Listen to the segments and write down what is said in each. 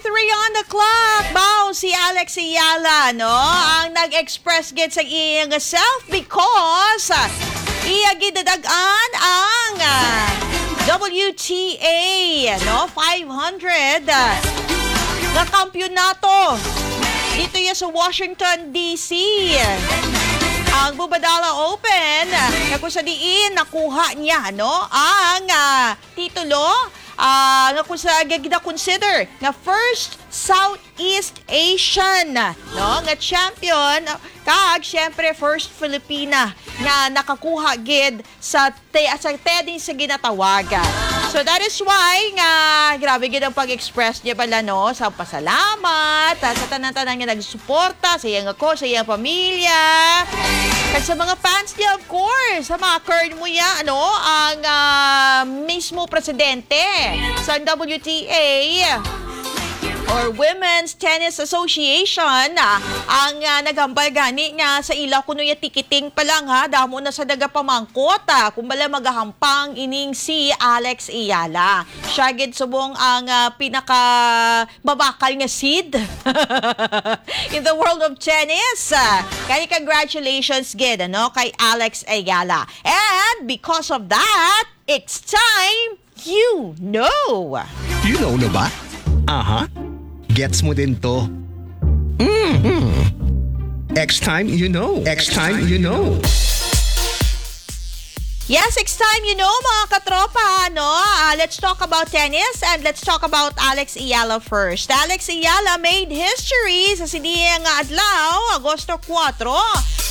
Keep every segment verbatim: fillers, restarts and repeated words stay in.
Three on the clock. Bao si Alex Ayala, no? Ang nag-express gid sa iyang self because, ah, iya gidadag-an ang, ah, W T A, no? Five hundred, ah, nga kampiyonato. Dito yan sa Washington, D C. Ang Mubadala Open, ah, na kung sa diin nakuha niya, no? Ang, ah, titulo, ah, nga kung sa gina-consider nga first Southeast Asian, no, nga champion, kag syempre first Filipina nga nakakuha gid sa te-, sa tennis sa ginatawag. So that is why nga grabe gid ang pag-express niya bala, no, sa pasalamat, ah, sa tanan-tanan nga nagsuporta sa iyang ako, sa iyang pamilya, kag sa mga fans niya, of course, sa mga kern mo ya, ano, ang, ah, mismo presidente sa W T A or Women's Tennis Association, ah, ang, ah, naghambal gani nga sa ila kuno ya tikiting pa lang, ha, damo na sa nagapamangkot, ah, kung bala magahampang ining si Alex Ayala. Siya gid subong ang, ah, pinaka mabakal nga seed in the world of tennis. Ah, kaya congratulations gid, ano, kay Alex Ayala. And because of that, it's time you know. You know na ba? Aha. Gets mo din to. Mm-hmm. X time you know. X time you know. Yes, it's time you know, mga katropa, no? Ah, let's talk about tennis and let's talk about Alex Ayala first. Alex Ayala made history sa sini nga adlaw, Agosto kuwatro,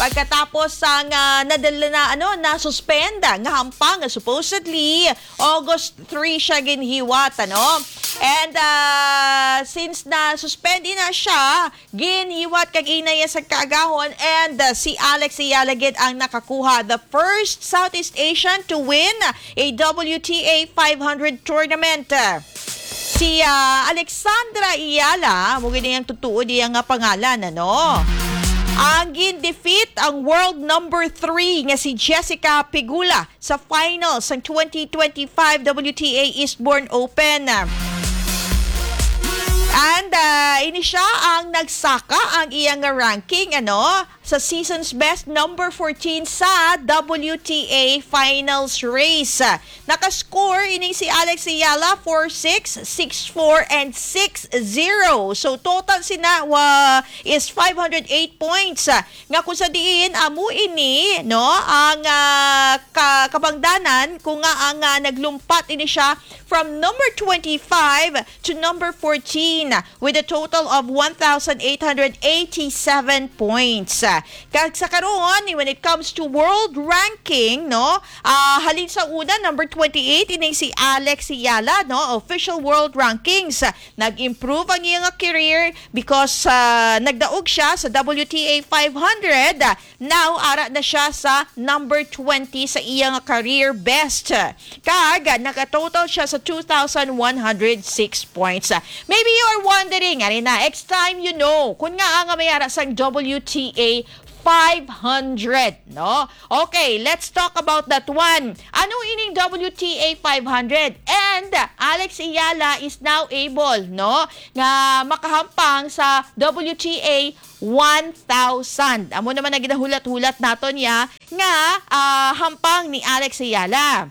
pagkatapos sang, ah, nadala na, ano, na-suspend nga hampang nga supposedly August three siya ginhiwat, ano? And, ah, since na-suspend na siya, ginhiwat kag inaya sa kaagahon, and, ah, si Alex Ayala gid ang nakakuha the first Southeast Asian to win a W T A five hundred tournament. Si, ah, Alexandra Ayala, mo gid ang tutuo diya nga pangalan, ano? Ang gin-defeat ang world number three nga si Jessica Pegula sa finals sang twenty twenty-five W T A Eastbourne Open. And, ah, ini siya ang nagsaka ang iyang ranking, ano, sa season's best, number fourteen sa W T A finals race. Nakascore ining si Alex Ayala, four six, six four, and six zero. So, total sina wa is five hundred eight points. Nga kung sa diin, amo ini, no, ang, ah, ka-, kabangdanan, kung nga ang, ah, naglumpat ini siya from number twenty-five to number fourteen with a total of one thousand eight hundred eighty-seven points. Kag sa karon, when it comes to world ranking, no, ah, halin sa una, number twenty-eight, ining si Alex Ayala, no, official world rankings. Nag-improve ang iyang career because, ah, nagdaog siya sa W T A five hundred. Now, ara na siya sa number twenty sa iyang career best. Kag naka-total siya sa two thousand one hundred six points. Maybe you are wondering, ari na, X time you know, kung nga nga may ara sang W T A five hundred, no? Okay, let's talk about that one. Ano ining W T A five hundred? And Alex Ayala is now able, no, nga makahampang sa W T A one thousand. Amo naman ang ginahulat-hulat naton ya nga, ah, hampang ni Alex Ayala.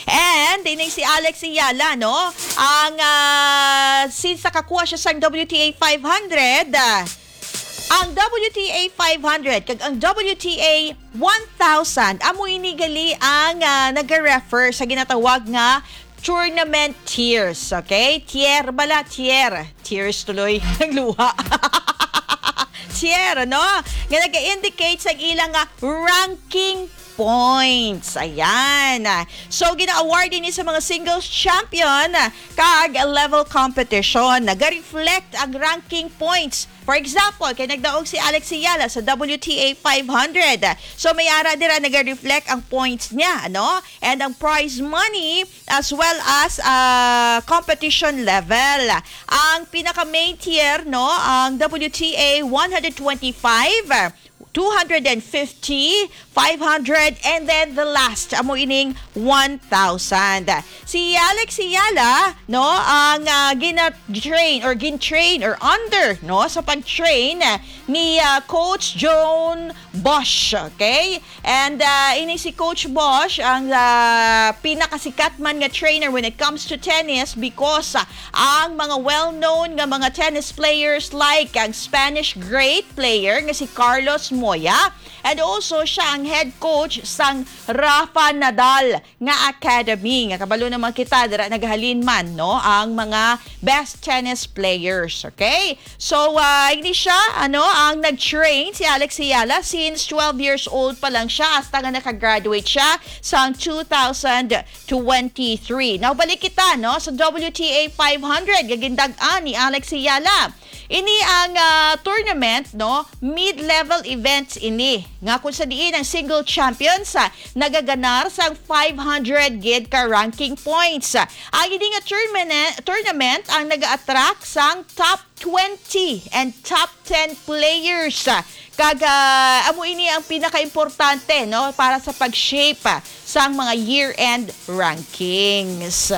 And ining si Alex Ayala, no? Ang, ah, since nakakuha siya sang W T A five hundred, ah, ang W T A five hundred kag ang W T A one thousand, amo ini gali ang, ah, nag-refer sa ginatawag nga tournament tiers, okay? Tier bala, tier. Tears tuloy. Nagluha. Tier, no? Nga nag-indicate sa ilang, ah, ranking points. Ayan. So, gina-award ini sa mga singles champion, ah, kag level competition. Nag-reflect ang ranking points. For example, kay nagdaog si Alex Ayala sa W T A five hundred. So, may ara dira nag-reflect ang points niya, ano? And ang prize money as well as, ah, competition level. Ang pinaka-main tier, no, ang W T A one hundred twenty-five, two hundred fifty, five hundred, and then the last, amo ining one thousand. Si Alex Eala, no, ang, ah, gina-train or gin-train or under, no, sa pag-train ni, ah, Coach John Bosch, okay? And, ah, ini si Coach Bosch ang, ah, pinakasikat man nga trainer when it comes to tennis because, ah, ang mga well-known nga mga tennis players like ang Spanish great player nga si Carlos Moya, and also siya ang head coach sang Rafa Nadal nga academy, nga kabalo naman kita dira naghalin man, no, ang mga best tennis players, okay? So, ah, ini siya, ano, ang nag-train si Alex Eala since twelve years old pa lang siya, hasta nga nakagraduate siya sang two thousand twenty-three. Now, balik kita, no, sa W T A five hundred nga gindag-an ni Alex Eala. Ini ang, ah, tournament, no, mid-level events ini, nga kung sa diin ang single champions, ah, nagaganar sang five hundred gid ka ranking points. Ang ini nga tournament, tournament ang naga-attract sang top twenty and top ten players. Kag, ah, amo ini ang pinakaimportante, no, para sa pag-shape, ah, sang mga year-end rankings.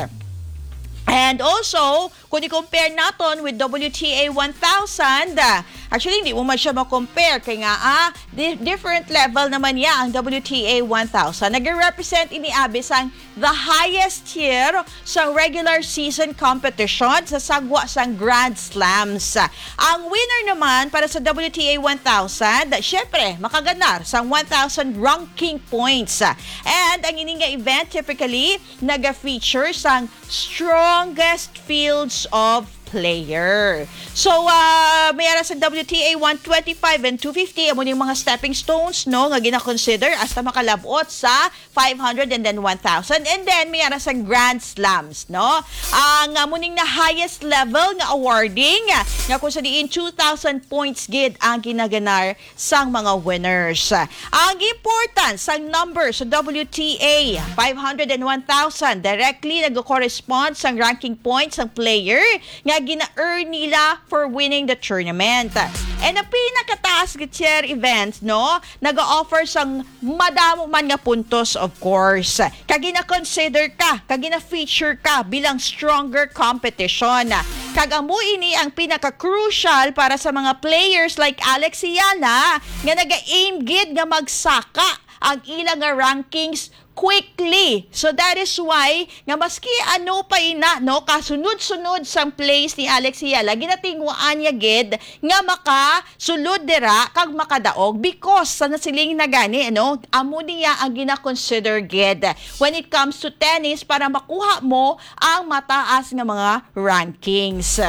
And also, kung i-compare naton with W T A one thousand, ah, actually, hindi mo man siya ma-compare. Kay nga, ah, di-, different level naman niya ang W T A one thousand. Nag-represent ini, abi, sang the highest tier sa regular season competition sa sagwa sang Grand Slams. Ang winner naman para sa W T A one thousand, syempre, makaganar sang one thousand ranking points. And ang ini nga event typically naga-feature sang strongest fields of player. So, ah, may ara sa W T A one twenty-five and two fifty, amo ning mga stepping stones, no, nga gina-consider hasta makalab-ot sa five hundred and then one thousand. And then, may ara sa Grand Slams, no? Ang, ah, amo ning na highest level nga awarding, nga kung sa diin two thousand points gid ang ginaganar sang mga winners. Ang importance sang number sa W T A five hundred and one thousand directly nag-correspond sang ranking points sang player nga gina-earn nila for winning the tournament. And ang pinakataas nga tier event, no, nag-offer sang madamo man nga puntos, of course. Kag gina-consider ka, kag gina-feature ka bilang stronger competition. Kag amo ini ang pinaka-crucial para sa mga players like Alex Eala nga naga-aim gid nga magsaka ang ila nga rankings quickly. So that is why nga maski ano pa ina, no, kasunod-sunod sang plays ni Alex Eala, ginatinguhaan niya gid nga makasulod dira kag makadaog because sa nasiling na gani, ano, amo niya ang gina-consider gid when it comes to tennis para makuha mo ang mataas nga mga rankings.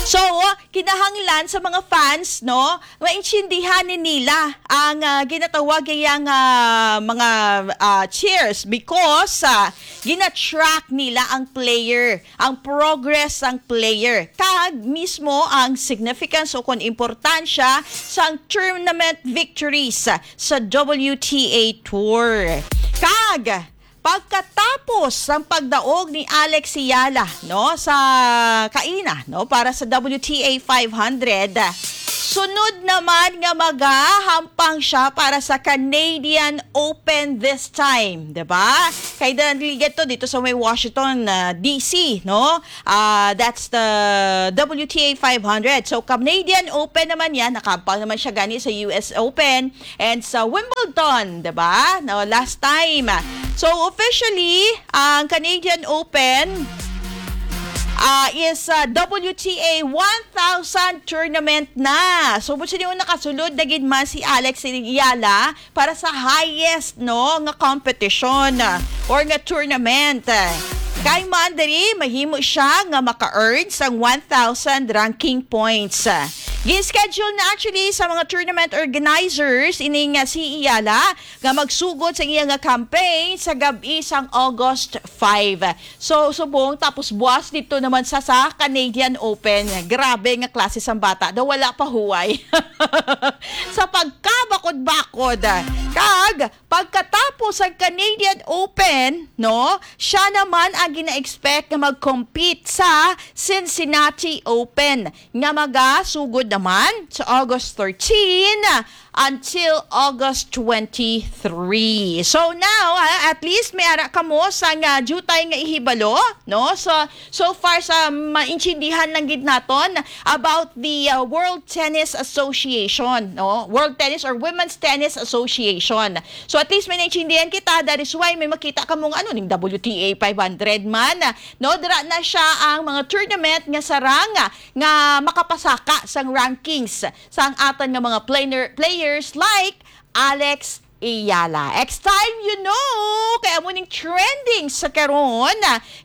So, kinahanglan sa mga fans, no, maintindihan ni nila ang, ah, ginatawag iya nga mga, ah, cheers because, ah, gina-track nila ang player, ang progress sang player, kag mismo ang significance o kon importansya sang tournament victories sa W T A Tour. Kag pagkatapos sang pagdaog ni Alex Eala, no, sa kaina, no, para sa W T A five hundred, sunod naman nga magahampang siya para sa Canadian Open this time, di ba? Kay dali to dito sa may Washington, ah, D C, no? Ah, that's the W T A five hundred. So, Canadian Open naman yan. Nakahampang naman siya gani sa U S Open and sa Wimbledon, di ba? No, last time. So, officially, ang Canadian Open, ah, is, ah, W T A one thousand tournament na. So, kung sino yung nakasulod na gid man si Alex Eala para sa highest, no, nga competition, ah, or nga tournament. Kay man diri, mahimo siya nga maka-earn sang one thousand ranking points. Gi-schedule na actually sa mga tournament organizers ining, ah, si Eala nga magsugod sa iya nga campaign sa gab-i sang August five. So, subong, tapos buwas dito naman sa, sa Canadian Open. Grabe nga klase sang bata. Daw wala pa huway. Sa pagkabakod-bakod. Kag, pagkatapos ang Canadian Open, no, siya naman ang gina-expect nga mag-compete sa Cincinnati Open nga magasugod naman sa August thirteen. until August twenty-three. So now, ah, at least may ara kamo sang, ah, diutay nga ihibalo, no? So, so far sa maintindihan lang gid naton about the, ah, World Tennis Association, no? World Tennis or Women's Tennis Association. So at least may naintindihan kita, that is why may makita kamo nga ano ning W T A five hundred man, no? Dira na siya ang mga tournament nga sarang nga makapasaka sang rankings sang atan nga mga player, players like Alex Eala. X time, you know, kay amo ning trending sa karon,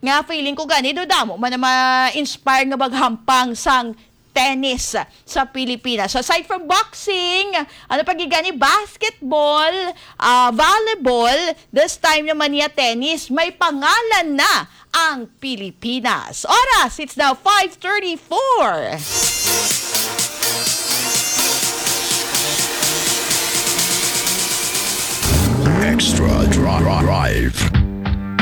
nga feeling ko gani do damo man na ma-inspire nga maghampang sang tennis sa Pilipinas. So aside from boxing, ano pa gid gani, basketball, ah, volleyball, this time naman niya tennis, may pangalan na ang Pilipinas. Oras, it's now five thirty-four. Extra Drive.